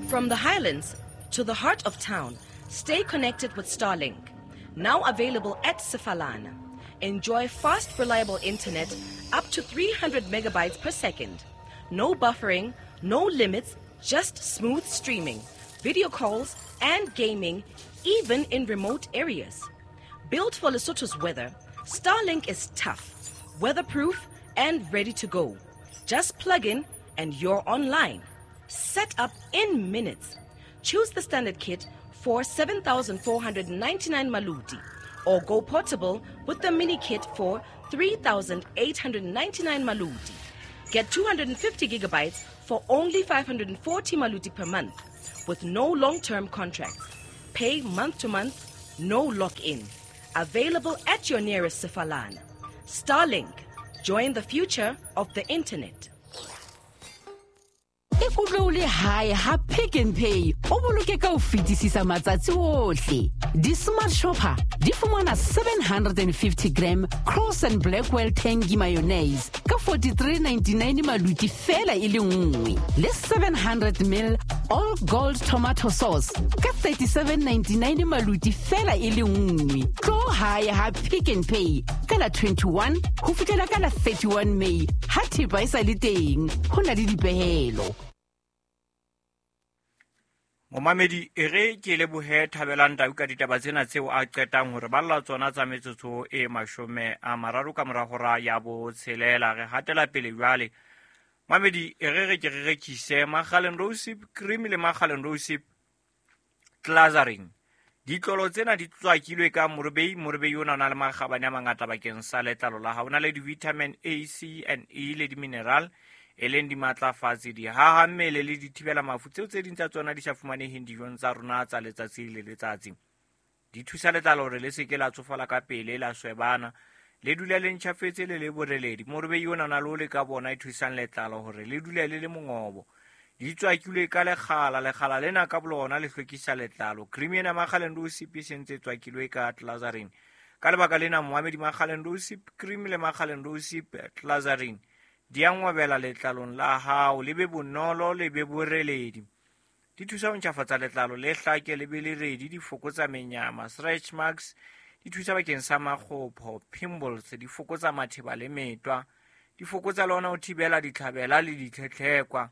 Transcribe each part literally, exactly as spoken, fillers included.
From the highlands to the heart of town, stay connected with Starlink. Now available at Sefalana. Enjoy fast, reliable internet up to three hundred megabytes per second. No buffering, no limits, just smooth streaming, video calls, and gaming, even in remote areas. Built for Lesotho's weather, Starlink is tough, weatherproof, and ready to go. Just plug in and you're online. Set up in minutes. Choose the standard kit for seven thousand four hundred ninety-nine maluti, or go portable with the mini kit for three thousand eight hundred ninety-nine maluti. Get two hundred fifty gigabytes for only five hundred forty maluti per month, with no long-term contracts. Pay month to month, no lock-in. Available at your nearest Sefalana. Starlink. Join the future of the internet. Ikutlwe o le hae ha Pick n Pay o boloke ka ho fetisisa matsatsi ohle. Di-smart shopper di fumana seven hundred and fifty gram Cross and Blackwell Tangy mayonnaise ka forty-three ninety-nine maluti fela e le nngwe, le seven hundred mil All Gold tomato sauce ka thirty-seven ninety-nine maluti fela e le nngwe. Tlo hae ha Pick n Pay ka la twenty-one ho fihlela ka la thirty-one May ha thepa e sa le teng, ho na le dipehelo. Momamedi, e re ke lebohe Thabelang Tau ka ditaba tsena tseo a qetang hore balla tsona tsa metsotso e mashome a mararo ka mora hora ya botshelela. Re hatela pele jwale. Mamedi, e re re ke re rekise Makgaleng Rosip Cream le Makgaleng Rosip Glazarin. Ditlolo tsena di tswakilwe ka morobei. Morobei ona o na le makgabane a mangata bakeng sa letlalo la hao. O na le di-vitamin A, C and E le di-mineral, e leng dimatlafatsi, dihaha mmele le dithibela mafu tseo tse ding tsa tsona di sa fumaneheng dijong tsa rona tsa letsatsi le letsatsi. Di thusa letlalo hore le se ke la tsofala ka pele, la swebana, le dule le ntjhafetse le le boreledi. Morobei ona o na le ole ka bona e thusang letlalo hore le dule le le mongobo. Di tswakilwe ka lekgala, lekgala lena ka bolona le hlwekisa letlalo. Cream ena Makgaleng Rosip e sentse e tswakilwe ka Glazarin. Ka lebaka lena momamedi, Makgaleng Rosip Cream le Makgaleng Rosip Glazarin di a ngwabela letlalong la hao, le be bonolo, le be boreledi. Di thusa ho ntjhafatsa letlalo le hlake, le be le redi, di fokotsa menyama, stretch marks, di thusa bakeng sa makgopho, pimples, di fokotsa matheba le metwa, di fokotsa le ona ho thibela ditlhabela le ditlhetlhekwa,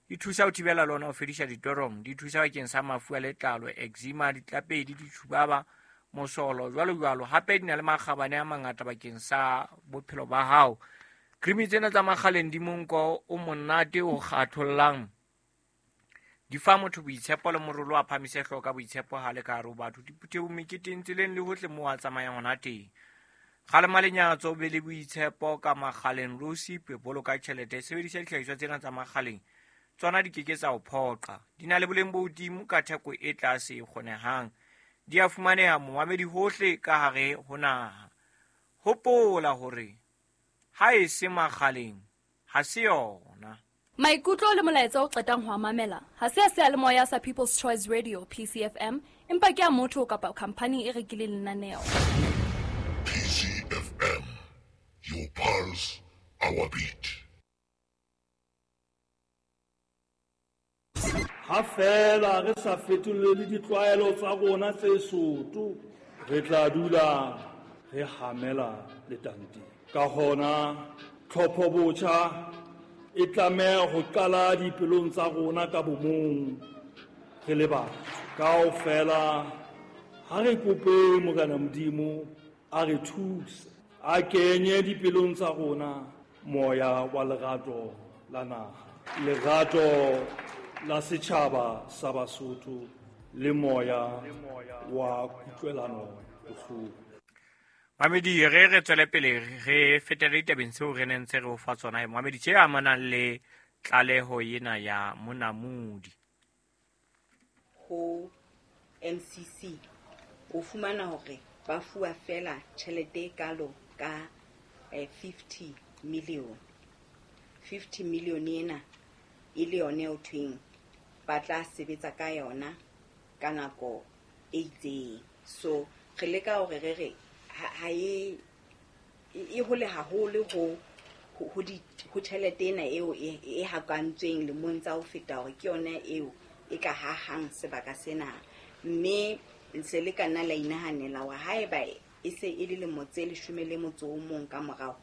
di thusa ho thibela le ona ho fedisa ditorong, di thusa bakeng sa mafu a letlalo, eczema, ditlapedi, ditshubaba, mosolo, jwalo jwalo. Hape di na le makgabane a mangata bakeng sa bophelo ba hao. Cream tsena tsa Makgaleng di monko o monate o kgathollang. Di fa motho boitshepo le morolo a phamise hlooho ka boitshepo ha le ka hare ho batho. Diphuthehong, meketeng, tseleng le hohle moo a tsamayang hona teng. Kgalema lenyatso, o be le boitshepo ka Makgaleng Rosip, boloka tjhelete, sebedisa dihlahiswa tsena tsa Makgaleng. Tsona di ke ke tsa o phoqa. Di na le boleng bo hodimo ka theko e tlase e kgonehang. Di a fumaneha momamedi hohle ka hare ho naha. Hopola hore ha e se Makgaleng, ha se yona. Maikutlo le molaetsa o qetang ho a mamela ha se a seyalemoya sa People's Choice Radio P C F M, empa ke a motho kapa khampani e rekileng lenaneo. P C F M, your pulse, our beat. Ha fela re sa fetolele ditlwaelo tsa rona tse soto, re tla dula re hamela letanteng. Ka hona tlhopho botjha e tlameha ho qala dipelong tsa rona ka bomong re le batho. Kaofela ha re kope Morena Modimo a re thuse, a kenye dipelong tsa rona moya wa lerato la naha, lerato la setjhaba sa Basotho le moya wa kutlwelano bohloko. Mamedi, re re tswele pele re fetele ditabeng tseo re neng ntse re o fa tsona. Mamedi, tse amanang le tlaleho ena ya Monamodi ho M C C, o fumana hore ba fuwa fela tjhelete e kalo ka fifty million. fifty million ena e le yone eo thweng ba tla sebetsa ka yona ka nako e itseng. So re leka hore re re ha e e hole haholo ho ho di ho tjhelete ena eo e hakantsweng lemong tsa ho feta hore ke yona eo e ka hahang sebaka sena. Mme se le ka nna la inahanela hore haeba e se e le lemo tse leshome le motso o mong ka morao,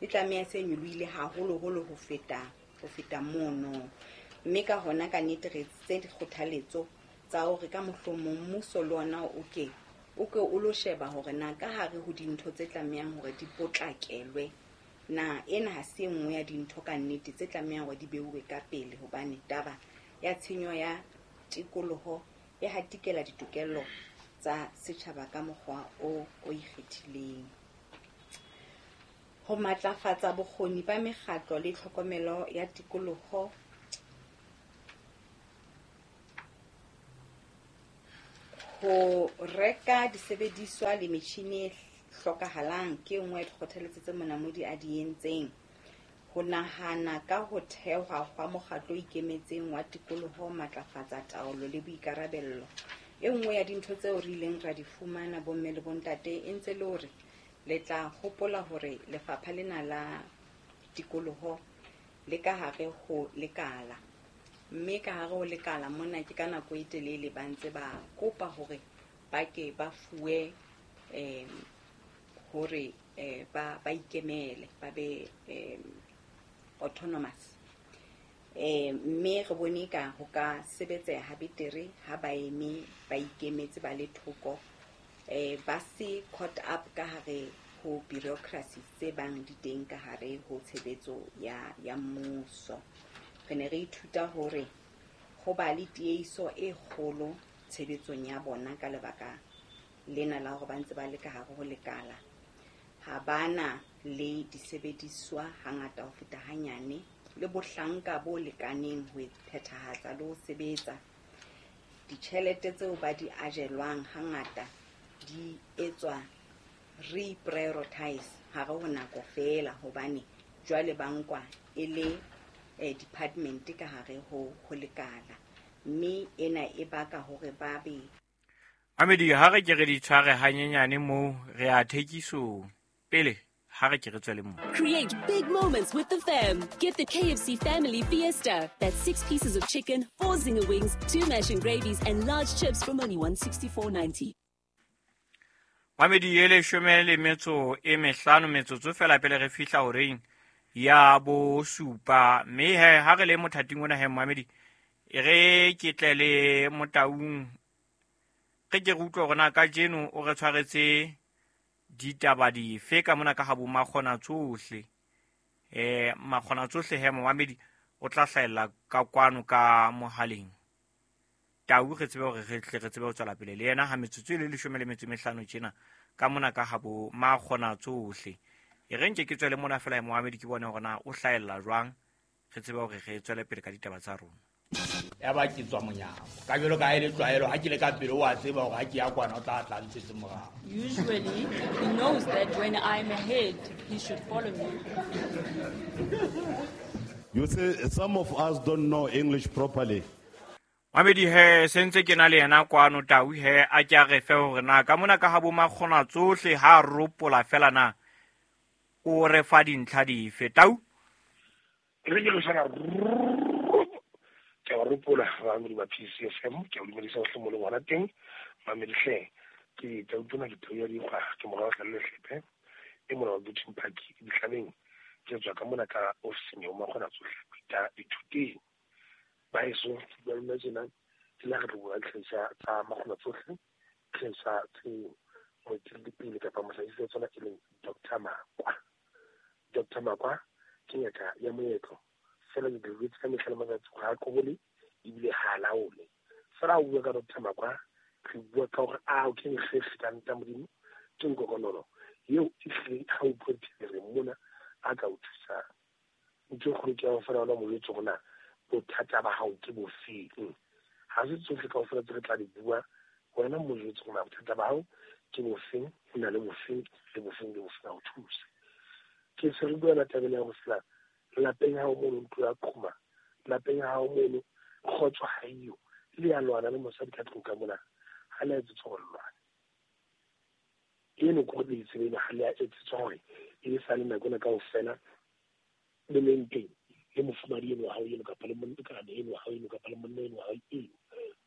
e tlameha se nyolohile haholoholo ho feta ho feta mono. Mme ka hona ka nnete re tse dikgothaletso tsa hore ka mohlomong mmuso le ona o ke o ke o lo sheba hore na ka hare ho dintho tse tlamehang hore di potlakelwe, na ena ha se e nngwe ya dintho ka nnete tse tlamehang hore di beuwe ka pele, hobane taba ya tshenyo ya tikoloho e hatikela ditokelo tsa setjhaba ka mokgwa o o ikgethileng. Ho matlafatsa bokgoni ba mekgatlo le tlhokomelo ya tikoloho, ho reka disebediswa le metjhini e hlokahalang ke e nngwe ya dikgothaletso tse Monamodi a di entseng. Ho nahana ka ho thehwa hwa mokgatlo o ikemetseng wa tikoloho, matlafatsa taolo le boikarabello. E nngwe ya dintho tseo re ileng ra di fumana bomme le bontate e ntse le hore le tla hopola hore lefapha lena la tikoloho le ka hare ho lekala, mme ka hare ho lekala mona ke ka nako e telele ba ntse ba kopa hore ba ke ba fuwe eh hore eh ba ba ikemele, ba be eh autonomous. Eh mme re bone ka ho ka sebetseha betere ha ba eme ba ikemetse ba le thoko, eh ba se caught up ka hare ho bureaucracy tse bang di teng ka hare ho tshebetso ya ya mmuso. Re ne re ithuta hore ho ba le tiehiso e kgolo tshebetsong ya bona ka lebaka lena la hore ba ntse ba le ka hare ho lekala. Ha bana le disebediswa hangata ho feta hanyane, le bohlanka bo lekaneng ho phethahatsa le ho sebetsa. Ditjhelete tseo ba di ajelwang hangata di etswa re-prioritize hare ho nako feela, hobane jwale ba nkwa e le eh, department ka hare ho ho lekala, mme ena e baka hore ba be Amedi. Ha re ke re di tshware hanyenyane moo re a thekisong pele, ha re ke re tswele moo. Create big moments with the fam. Get the K F C Family Fiesta. That's six pieces of chicken, four zinger wings, two mash and gravies, and large chips from only one sixty-four ninety. Mamedi e leshome le metso e mehlano metsotso fela pele re fihla horeng ya bosupa. Mme he ha re le mothating ona he Mamedi, e re ke tle le Motaung, re ke re utlwe hore na kajeno o re tshwaretse ditaba dife ka mona ka ha bo makgona tsohle. Eh makgona tsohle he Mamedi o tla hlahella ka kwano ka mohaleng. Tau re tsebe hore re tle re tsebe ho tswela pele le yena ha metsotso e le leshome le metso e mehlano tjena ka mona ka ha bo makgona tsohle. E re nke ke tswele mona fela Mohamedi ke bone hore na o hlahella jwang, re tsebe hore re tswele pele ka ditaba tsa rona. Ya ba ke tswa monyako ka jwalo ka ha e le tlwaelo, ha ke le ka pele o a tseba hore ha ke ya kwana o tla tla ntshetse morao. Usually he knows that when I'm ahead he should follow me. You see, some of us don't know English properly. Mamedi he sentse ke na le yena kwano Tau he a ke a re fe hore na ka mona ka ha bo makgona tsohle ha ropola fela na o re fa dintlha dife Tau. Re ke re sana ke a ropola ba ba P C F M ke a dumedisa hohle mo le ngwana teng. Mamedi hle ke tau tona ke tau ya dikgwa ke morao tla le hlepe e mona wa Buting Park dihlabeng ke tswa ka mona ka ofising ya makgona tsohle ta ithuteng. Ba eso ba lona tjena ke la re tlo bua tlhahisa tsa makgona tsohle, tlhahisa tse moeteledipele kapa mohlahisi wa tsona e leng Doctor Makwa. Doctor Makwa ke ngaka ya moetlo fela ke diretse ka mehla le matsatsi ha a qobole ebile ha a laole. Fela ha o bua ka Doctor Makwa re bua ka hore a ke nkgekge ka nta Modimo ke nkokonolo eo e hlile ha o bua re mona a ka o thusang. Ntho e kgolo ke ya ho fela ona mo jwetse hore na bothata ba hao ke bofeng. Ha se tsohle kaofela tse re tla di bua, wena mo jwetse hore na bothata ba hao ke bofeng, o na le bofeng le bofeng le bofeng a o thuse. Ke se re bua la tabeng ya ho fela lapeng ha o mono ntlo ya qhoma, lapeng ha o mono kgotso ha eyo, le ya lwana le mosadi ka tlung ka mona ha le a etsetswa hore le lwane. Eno ke hore le itsebe eno ha le a etsetswa hore e sa le nako ena kaofela le leng teng le mofumadi eno wa hao eno kapa le molekane eno wa hao eno kapa le monna eno wa hao eno.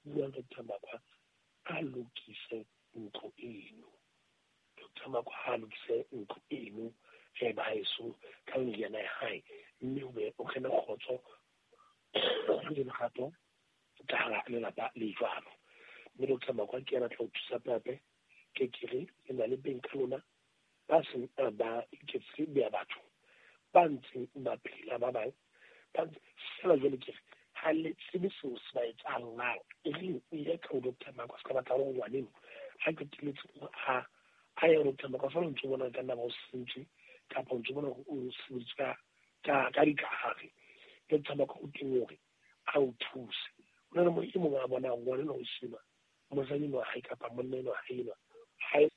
Bua Doctor Makwa a lokise ntlo eno. Doctor Makwa a lokise ntlo eno e baheso ka meriana ya hae, mme o be o kene kgotso le lerato ka hara lelapa le jwalo. Mme Doctor Makwa ke yena a tla o thusa pepe ke kere le na le beng ka lona ba seng ba iketse beya batho ba ntseng ba phela ba bang ba ntse fela jwale ke re ha le tsebe seo se ba etsahallang. E reng o ile ka ho Doctor Makwa se ka batla hore ngwaneno ha qetelletse ha a ya ho Doctor Makwa fela o ntso bona ka nna ba o sentswe kapa o ntso bona hore o sebeditswe ka ka ka dikahare. Doctor Makwa o teng hore a o thuse. Ho na le mo e mong a bonang ngwaneno o sena mosadi enwa hae kapa monna enwa hae enwa hae